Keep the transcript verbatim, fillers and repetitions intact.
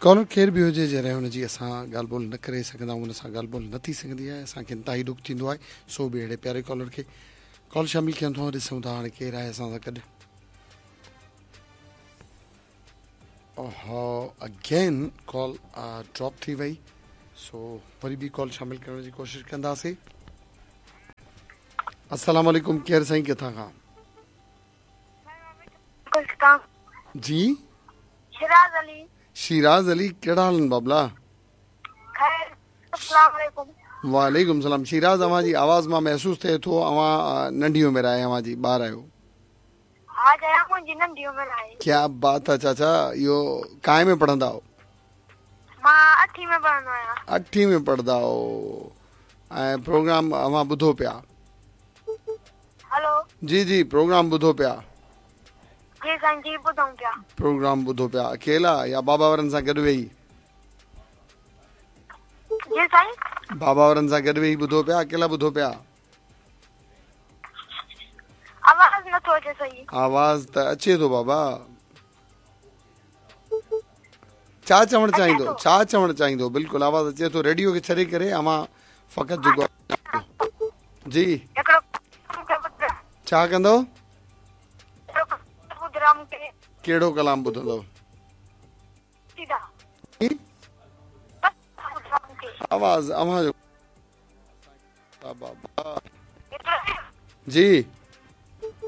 Collar केरु बि हुजे, जॾहिं हुनजी असां ॻाल्हि ॿोल न करे सघंदा आहियूं, हुन सां ॻाल्हि ॿोल न थी सघंदी आहे, असांखे इंतिहाई ॾुख थींदो आहे। सो बि अहिड़े प्यारे कॉलर खे कॉल शामिल कयां थो, ॾिसूं था हाणे केरु आहे असां सां गॾु। ओहो, अगेन कॉल ड्रॉप थी वई, सो वरी बि कॉल शामिल करण जी कोशिशि कंदासीं। अस्सलाम वालेकुम, केरु साईं, किथां खां? जी शिराज अली। शिराज अली, कहिड़ा हाल आहिनि बाबला? खैर, अस्सलाम वालेकुम। वालेकुम सलाम। शिराज, अव्हां जी आवाज़ मां महसूसु थिए थो अव्हां नंढी उमिरि आहे, अव्हां जी ॿार आहियो। हा चाचा, मुंहिंजी नंढी उमिरि आहे। क्या बात आहे चाचा, इहो कांइ में पढ़ंदा हो? मां अठी में पढ़ंदो आहियां। अठी में पढ़ंदा हो। ऐं प्रोग्राम अव्हां ॿुधो पिया? हेलो। जी जी, प्रोग्राम ॿुधो पिया? जी साईं, जी ॿुधूं पिया। प्रोग्राम ॿुधो पिया अकेला या बाबा वारनि सां गॾु वेही? जी साईं, बाबा वारनि सां गॾु वेही ॿुधो पिया, अकेला ॿुधो पिया? आवाज़ नथो अचे सही। आवाज़ त अचे थो बाबा। छा चवणु चाहींदो, छा चवणु चाहींदो? बिल्कुलु आवाज़ अचे थो। रेडियो खे छॾे करे अव्हां फ़क़ति जेको जी छा कंदो? कहिड़ो कलाम ॿुधंदो? आवाज़ अव्हां जो बाबा। जी